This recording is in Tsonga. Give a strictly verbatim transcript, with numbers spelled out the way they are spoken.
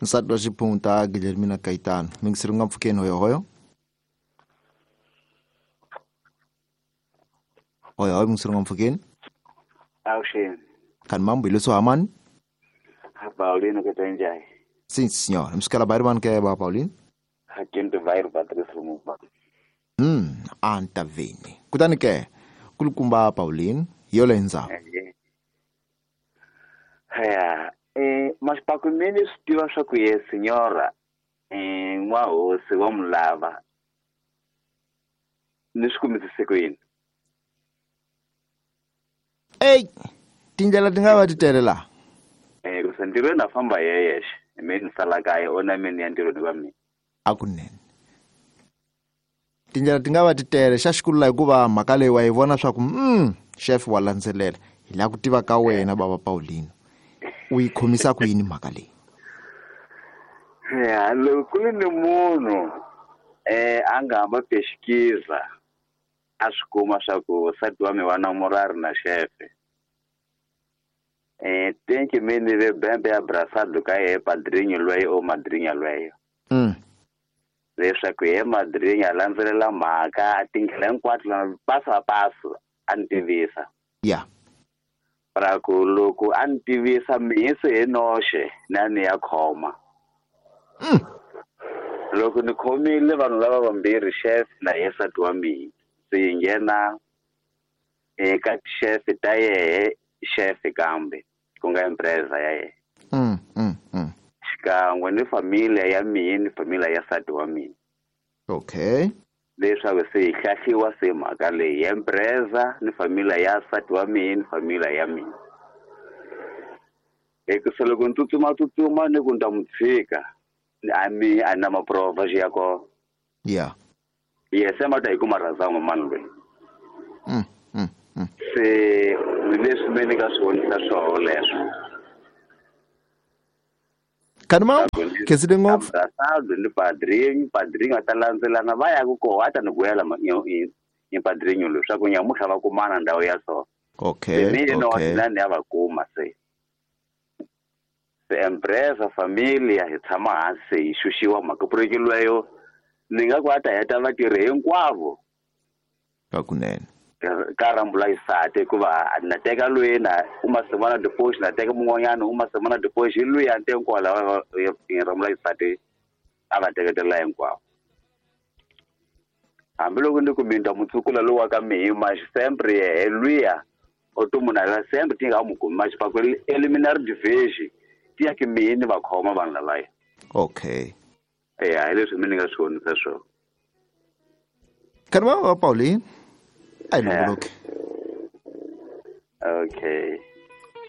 Nsati wa xiphunta Guilhermina Kaitano. Mingisiri nga mpfukeni hoyohoyo. Hoyohoyo mingisiri nga mpfukeni. Avuxeni. Kani mambo hileswo hamani? Paulino ke njani? Sim, senhor. Msikala bairman ke ba Paulino? Hakinto bairro Patrício Lumumba. Hmm, antavini. Kutani ke kulukumba Paulino, yolenza. Ya, eh mas pakumini swi swa ku ye senhora eh n'wahosi wa mulava. Ni swi kumisise ku yini? Ey, tindlela ti nga va ti tele la. Eh ku se ntirhweni a famba yeyexe. Mina ni sala kaya ona mina ya ntirhweni wa mina. Akunene. Tindlela ti nga va ti tele xa xikulu la hikuva mhaka leyi wa yi vona swa ku mm chef wa landzelela. Hi la ku tiva ka wena baba Paulino. U yi khomisa ku yini mhaka leyi? Ya, loko ku ri ni munhu eh a nga hamba pexikiza a swi kuma swa ku nsati wa mina wa namorari na xefe. Eh tenki mini ve bembe ya abraçado ka ye padrinho lweyo o madrinha lweyo. Mm. Leswaku ye madrinha landzelela mhaka tindlela hinkwato na paso a paso a ni tivisa. Ya. Pra ku loko a ni tivisa mihisi hi noxe na ni ya khoma. Mm. Loko ni khomile vanhu lava vambirhi chef na ye nsati wa mina se yi nghena eka chef ta yehe chef kambe ku nga empresa ya yena. Mm, mm, mm. Xikan'we ni familia ya mina ni familia ya nsati wa mina. Okay. Leswaku se hi hlahliwa se mhaka leyi empresa ni familia ya nsati wa mina ni familia ya mina. Hikusa loko ni tsutsuma tsutsuma ni ku ni ta n'wi tshika a mi a na maprova xi ya kona. Yeah. Yes, ma ta hi kuma razama mani loyi. Mm, mm, mm. Se leswi me ni nga swi vonisa swoho leswo. Kani ma khensile ngopfu. Abraçado ni padrinho, padrinho a ta landzelana va ya ku koho a ta ni gwela ni padrinho loyi swa ku nyamutlha va kumana ndhawu ya so. Okay. Mina no Okay. ni ya va kuma se. Se empresa familia hi tshama hansi hi xuxiwa mhaka puriki lweyo ni nga ku a ta heta vatirhi hinkwavo. Kakunene. Ka rambula xisati hikuva na teka loyi na u ma semana depois na teka mun'wanyana u ma semana depois hi loyi a ni teki kwala rambula xisati a va teketela hinkwavo. Hambiloko ni ku mi ta mutsukula lowu wa ka mihi maxi sempre yehe luya o to munhu a sempre ti nga mu kumi maxi paku eliminary division ti ya ki mihi ni va khoma vanhu lavaya. Okay. Ya hi leswi mi ni nga swi vonisa swona. Kani va Pauline? Ai longoloke. Okay.